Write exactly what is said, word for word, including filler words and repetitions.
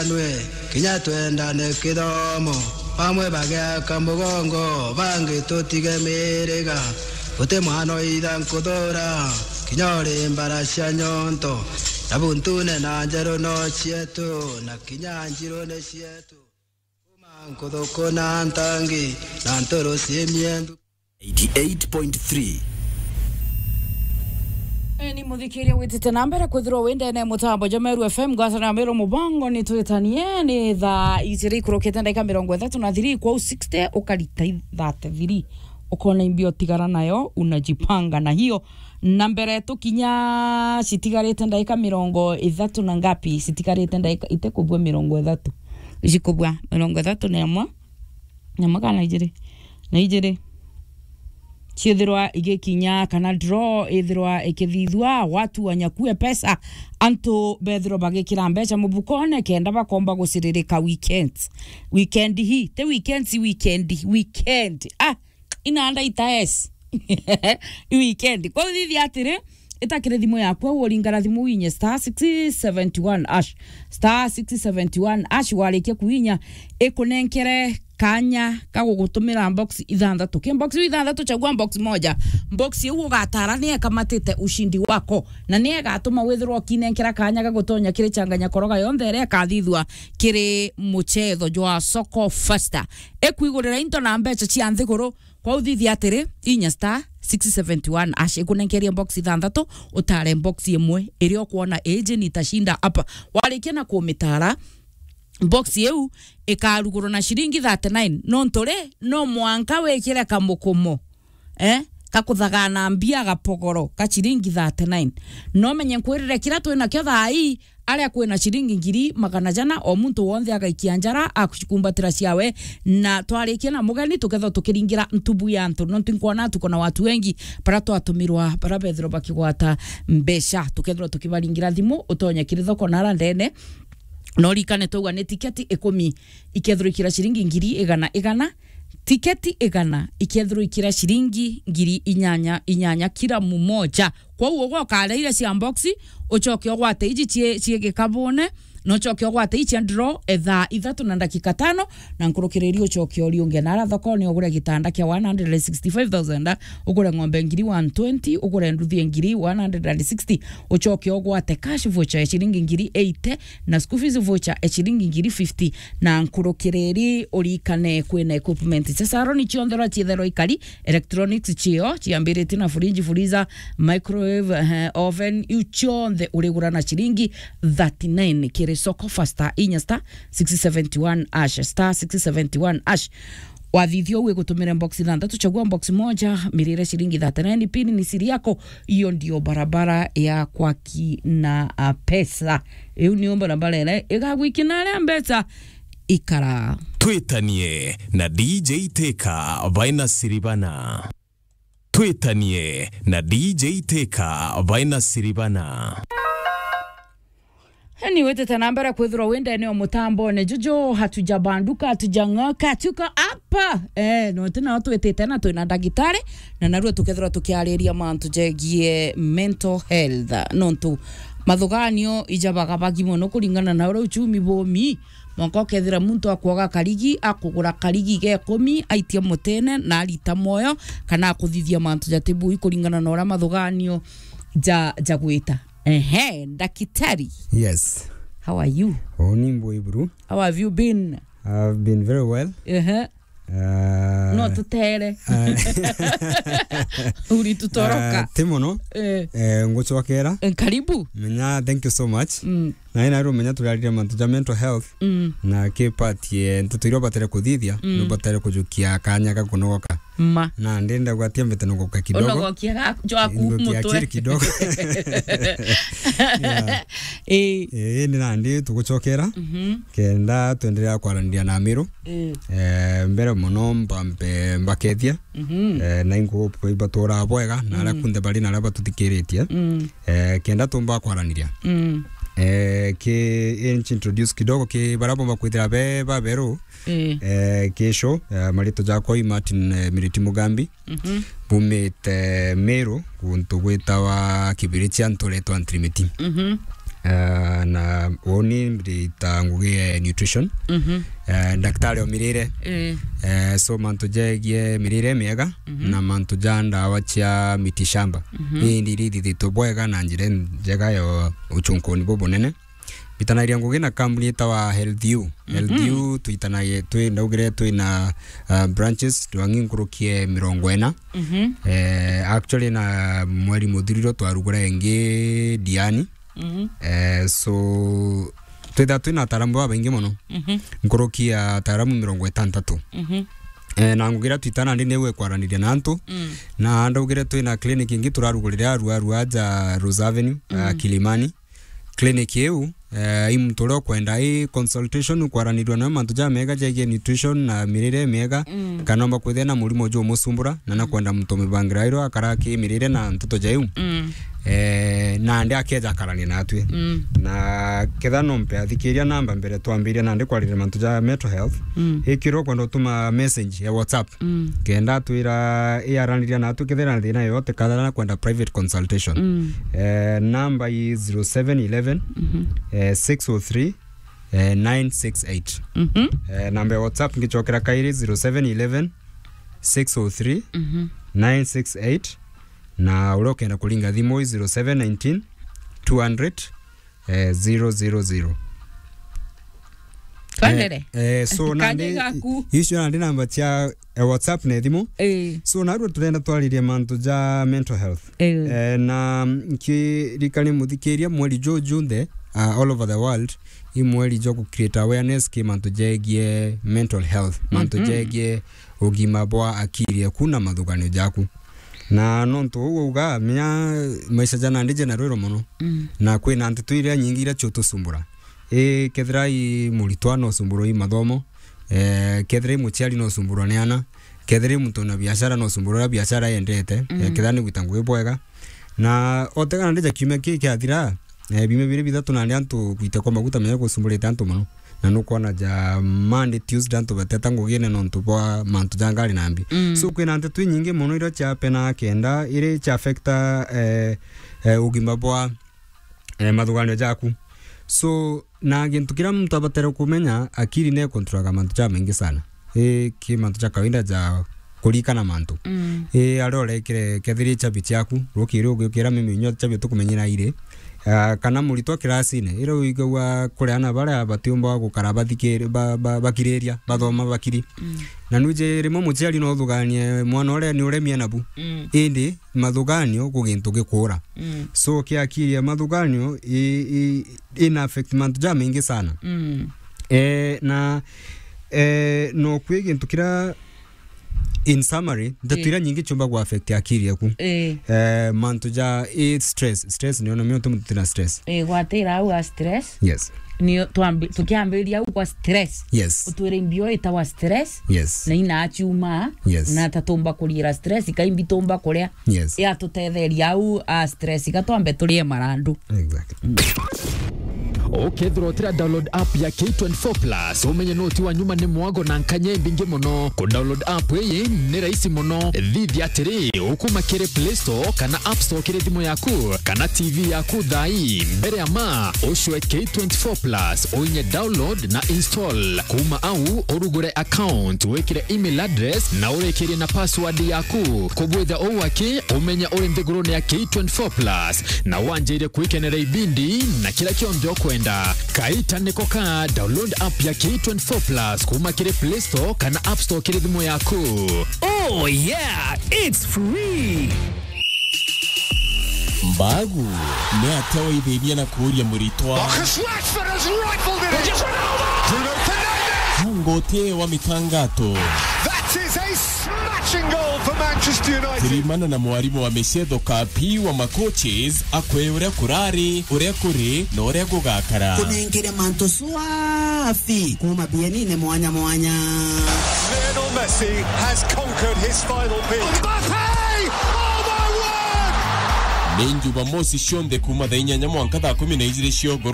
nwe, kinya twendane kithomo, bamwe bagiaka mugongo, bangi tutige miriga, guti mwana oitha nkuthura, kinya uri mbara cia nyonto, na buntune na njeru no cietu, na kinya njirune cietu. Kuma nkuthuku na ntangi, na nturu ci miendu. Eighty-eight point three. Ni muthikiria witite na mbere kwithirwa wi ndene mutambo jwa Meru F M, ngwataniro ya Meru mubango ni twitanie, ni thaa ijiri ikurukite ndagika mirongo ithatu na thiri, kwou sixty ukarita thirty-three, ukona imbia utigara nayo, unajipanga na hiyo. Na mbere tukinya citigarite ndagika mirongo ithatu na ngapi? Citigarite ndagika itikubua mirongo ithatu. Icikubua mirongo ithatu na imwe. Na imwe kana ijiri? Na ijiri. Ciithirwa igikinya kana draw ithirwa ikithithua, watu wanyakue pesa, antu bethirwa bagikira mbeca mubukone kenda bakomba guciririka weekends. Weekend hii, ti weekends, weekend, weekend. Ah, inanda itaes. I weekend. Kwa uthithia atiri, itakire thimu yaku, au uringara thimu winye star six seventy one hash. Star six seventy one hash, warikia kuinya, ikunenkere kanya ka gugutumira box ithanthatu. Ki box ithanthatu, chagua box moja. Box iu ugatara ni ekamatite ushindi wako, na ni egatuma withirwa ukinenkera kanya ga gutonya kiri changanya koroga yonthe iria ikathithua kiri muchetho jwa Soko Fasta. Ikuigurira into na mbeca cia nthiguru. Kwa uthithia atiri, inya star six seventy one hash ikunenkerie box ithanthatu, utare box imwe iria ukwona iji nitashinda hapa. Warikia na kumitara, box iu ikarugurwa na ciringi thirty-nine. Nontu ri, no mwanka wikire kamukumo, eh, kakuthagana mbia gapogoro ka ciringi thirty-nine. No menye nkwirire kira twinakio thaa ii, aria kwina ciringi ngiri magana jana, o muntu wonthe agaikia njara akucikumbatira ciawe, na twarikia na mugeni, tukethwa tukiringira ntubu ya antu, nontu nkwona tuko na watu wengi bara twatumirwa, bara bethirwa bakigwata mbeca, tukethirwa tukibaringira thimu, utonye kiri thoko nara ndene, na urikane twauga ni tiketi ikumi ikethirwa ikira ciringi ngiri igana igana, tiketi igana ikethirwa ikira ciringi ngiri inyanya inyanya kira mumoja. Kwou ugoka aria iria cia box, ucoke ugwate iji cie, cie gikabune, na ucoke ugwate ii cia draw, e thaa ithatu na ndagika tano, na nkurukiriri ucoke uriunge nara thokone, ugure gitanda kia one hundred and sixty-five thousand, ugure ng'ombe ngiri one twenty, ugure nduthi ngiri one hundred and sixty, ucoke ugwate cash voucher ya ciringi ngiri eighty, na school fees voucher ya ciringi ngiri fifty, na nkurukiriri urikane kwina equipment cia salon cionthe uria cietherwa ikari, electronics cio ciambiritie na fridge, freezer, microwave, eh, oven, iu cionthe urigura na ciringi thirty-nine kiri Soko Fasta, inya star six seventy one hash, star six seventy one hash. Wathithia uu igutumire box ithanthatu, chagua box moja, mirire ciringi thirty-nine, pin ni siri yako. Hiyo ndio barabara ya kwaki na, ah, pesa. Iu niyo barabara iria igagwikina aria mbeca ikara. Twitanie na D J Teka baina Siribana. Twitanie na D J Teka baina Siribana. Ni witite na mbere kwithirwa wi ndene o mutambone juju, hatujabanduka, hatujang'oka, tuko hapa. Eh, no ti nao twitite na twina ndagitari, na narua tukethirwa tukiariria mantu jegie mental health. Nontu mathuganio ijabagabagi mono kuringana na uria uchumi bumi. Mwanka ukethira muntu akwoga karigi, akugura karigi ga ikumi, aitie mutene, na arita mwoyo, kana akuthithia mantu jatibui kuringana na uria mathuganio ja, jagwita. Ehe, ndakitari. Yes. How are you? Oh, ni mbui buru. How have you been? I've been very well. Ehe. Ah, no tutere. Ah, uritutoroka. Ah, ti mono. Eh. Eh, ngucokera. Eh, karibu. Menya, thank you so much. Mm. Na ina rumenya turarire mantu ja mental health. Mm. Na ki part ye nteto iria ubatare kuthithia, mm, nubatare kujukia kanya ga kunogoka. Ma. Na ndenda gwatia mbete nogoka kidogo. Unogokia ga, jwaku. Ngokia mutwe. Akili kidogo. Yeah. Eh. Eh, ni nandi tugucokera. Mhm. Kenda twenderea kwaraniria na Miru. Eh. Eh, mbere mono mbambe mbakethia. Mhm. Eh, na ingo ibatura bwega, na aria, mm, kunthe bari na aria batuthikiritie. Mm. Eh, kenda tumba kwaraniria. Mm. Eh, ki introduce kidogo ki baria bomba kwithira be baberu. Eh. Eh, ki show, eh, marito jakwa i Martin, eh, Miriti Mugambi. Mhm. Bumite Miru, guntu gwitawa Kibirichia, nturetwa Ntirimiti. Mhm. Eh, na uni ndita ngugi ya nutrition. Mhm. Eh, daktari o mirire. Eh. Eh, so mantu jegie mirire miega, mhm, na mantu ja ndawa cia miti shamba. Mhm. Ni iria ithithitwe bwega na njira njega ya uchunkuni bubunene. Mbitanagiria ngugi na kambuni itawa Health U. Mhm. Health U twitanagie, twi, ndaugire twina, uh, branches, twangi nkurukie mirongo ina. Mhm. Eh, actually na mweri muthiriro twarugura ingi Diani. Mhm. Eh, so, twitha twina ataaramu babaingi mono. Mhm. Nkuruki ya ataaramu mirongo itantatu. Mhm. Eh, na ngugi iria twitana ndi niwe kwaraniria na antu. Mm. Na ndaugire twina clinic ingi turarugurire arua, arua aja Rose Avenue, ah, mm, Kilimani. Clinic iu, eh, i muntu uria ukwenda i consultation, ukwaranirua nawe mantu jamega jegie nutrition na mirire miega, mm, kana omba kwithia na murimo jumusumbura, na nakwenda muntu umibangira irio akara ki mirire na nteto ja iu. Mm. Eh, nandi akeja akarania natwi. Mm. Na ketha nompe athikiria namba mbere twambiria nandi kwariria mantu ja mental health. Mm. Ikirwo kwenda utuma message ya WhatsApp. Mm. Kenda atwira iaraniria natwi kethira na thina yoyote, kathara na kwenda private consultation. Mm. Eh, namba i zero seven eleven, mhm, eh, six oh three, eh, nine six eight. Mhm. Eh, namba ya WhatsApp ngichokera kairi, zero seven eleven, six oh three, mhm, nine six eight. Na uria ukenda kuringa thimu i zero seven nineteen, two hundred, eh, zero zero zero. Twendere. Eh, eh, so nandi, icio nandi namba cia, eh, WhatsApp na thimu. Eh. So narua turenda twaririe mantu ja mental health. Eh. Eh, na nkirikania muthikiria mweri juju nthe, uh, all over the world, i mweri jwa ku create awareness ki mantu jegie mental health, mantu, mhm, jegie ugima bwa akiri eku na mathuganio jaku. Na nontu uu uga, menya maisha ja nandi jena rwiro mono. Mm. Na kwina nteto iria nyingi iria ciutusumbura. I kethira i muritwa no usumburwa i mathomo, eh, kethira i muciari no usumburwa ni ana, kethira i muntu na biashara no usumburwa uria biashara yendete, eh, mm, kethira ni gwita ngugi bwega. Na otega nandi ja kiumia ki kiathira, eh, biumia biri bithatu nandi antu gwita kwa maguta menya gusumburite antu mono. Na nukwona ja Monday, Tuesday antu bateta ngugine nontu bwa mantu ja ngari na mbi. Mm. So kwina nteto inyingi mono iria ciapena kenda iri cia affecta, eh, eh, ugima bwa, eh, mathuganio jaku. So na gintu kiria muntu abatere kumenya, akiri ne controlaga mantu ja maingi sana. I ki mantu ja kawaida ja kurikana mantu. Mm. I aria urekire kethira i chabi ciaku, rukiri ugiukira mimi nyo chabi tukumenyera iri. Ah, kana muritwa kirasine, iria uigagua kuri ana baria batiumba gukara bathikiri-, ba-, ba-, bakiriria, bathoma bakiri. Mm. Na nwiji rimwe muciari no uthuganie mwana uria ni uremie nabu. Mm. Indi mathuganio ku gintu gikura. Mm. So kiakiria mathuganio i, i, ina affect mantu ja maingi sana. Mm. Eh, na, eh, no kwi gintu kiria, in summary, ndeto, eh, iria nyingi ciumba ku affect akiri yaku. Eh. Eh, mantu ja, eh, stress. Stress ni ona mioto muntu tina stress. Eh, gwatira au a stress. Yes. Ni twambi-, tukiambiriria au kwa stress. Yes. Utwire imbio itawa stress. Yes. Na ina aciuma. Yes. Na tatumba kurira stress, kaimbi tumba kuria. Yes. Ya tutetheria au a stress, gatwambe turie marandu. Exactly. Ukethirwa utira download app ya K twenty-four plus, umenye noti wa nyuma ni mwago na nkanya imbingi mono. Ku download app iyi ni rahisi mono. Thithia atiri, ukuma kiri Play Store kana App Store kiri thimu yaku kana T V yaku thaa ii. Mbere ya ma, ucwe K twenty-four plus, uinye download na install. Kuma au, urugure account, wikire email address na urikirie na password yaku. Kubwitha uu aki, umenya uri nthigurune ya K twenty-four plus na wanjire kwikenera ibindi na kira kionthe ukwenda. Kaita niko ka, download app ya K twenty-four plus kuma kiri Play Store kana App Store kiri thimu yaku. Oh yeah, it's free. Mbagu, ni atia waithithia na kuuria muritwa? Marcus Rashford has rifled it in. Bruno Fernandes. Ngoti wa mitangato. That is a smashing goal for Manchester United. Thirimana na mwarimu wa micetho Kapi wa macoaches akwe uria kurari, uria kuri, na uria gugakara. Kunengere mantu swafi kuma bienine mwanya mwanya. Lionel Messi has conquered his final peak. Mbappe! Oh my word! Ni Jumamosi cionthe kuma thaa inyanya mwanka thaa kumi na ijiri cia ugoro.